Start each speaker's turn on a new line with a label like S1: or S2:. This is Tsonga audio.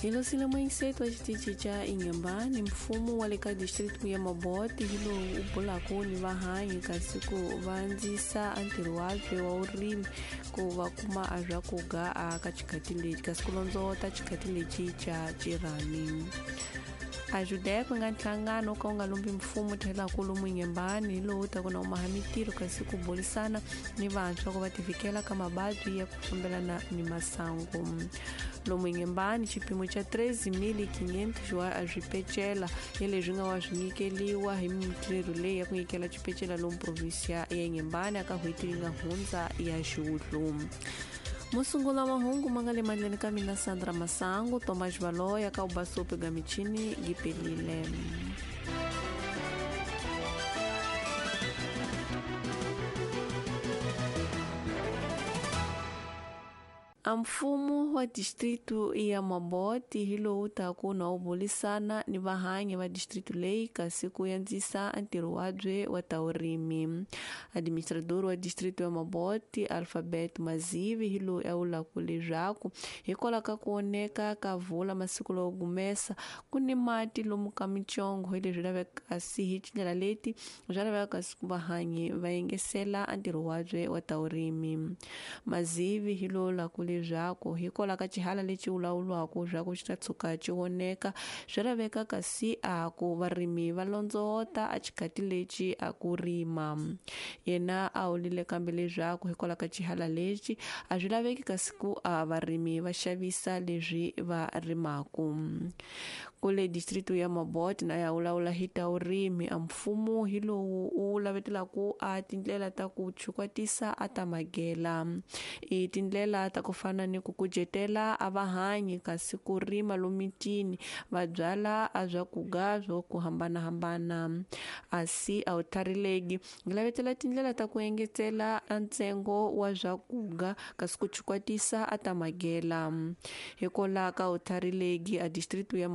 S1: Hi losile muyingiseti wa xitichi xa Inhambane, mfumo wa le ka district ya Mabote hi lowu u bulaka ni vahanyi kasi ku va andzisa a ntirho wabye wa vurimi ku va kuma a swakudya a ka xikhati lexi kasi ku londzovota xikhati lexi xa xirhami. A Judec nga nhlangano ka wu nga lumbi mfumo tlhelaka lomu Inhambane hi lowu taka na umaha mintirho kasi ku burisana ni vantshwa ku va tivikela ka mavabyi ya ku fambelana ni masangu. Lomu Inhambane xipimo xa 13.500 wa swipecela hi leswi nga wa swi nyikeliwa hi mintirho leyi ya ku nyikela xipecela lomu provinsia ya Inhambane aka n'hweti leyi nga hundza ya xiwudlu. Musungula mahungu ma nga le mandleni ka mina Sandra Masangu, Thomas Valoya ka ubasopi ga michini gipelile. A mfumo wa distritu ya Mabote hi lowu taka na wu burisana ni vahanyi va distritu leyi kasi ku andzisa ntirho wabye wa ta vurimi. Administrador wa distritu ya Mabote Alphabet Mazivi hi loyi a vulaka leswaku hikwalaho ka ku oneka ka vula masiku lawo gumesa ku ni mati lomu ka mitsongo hi leswi laveka kasi hi tindlela leti swa laveka kasi ku vahanyi va yengesela ntirho wabye wa ta vurimi. Mazivi hi lowu vulaka leswaku hikwalaho ka xihala lexi vulavuriwaka leswaku xi ta tshuka xi voneka swi laveka kasi a ku varimi va londzovota a xikhati lexi a ku rima. Yena a vulile kambe leswaku hikwalaho ka xihala lexi a swi laveki kasi ku a varimi va xavisa leswi va rimaka. Kule district ya Mabote na ya vulavula hi ta vurimi a mfumo hi lowu wu lavetelaka a tindlela ta ku chukwatisa a ta magela. I tindlela ta ku fana ni ku kucetela a vahanyi kasi ku rima lomitini va byala a swakudya swo ku hambanahambana. Asi a wu tlharileki lavetela tindlela ta ku engetela a ntsengo wa swakudya kasi ku chukwatisa a ta magela. Hikwalaho ka wu tlharileki a district ya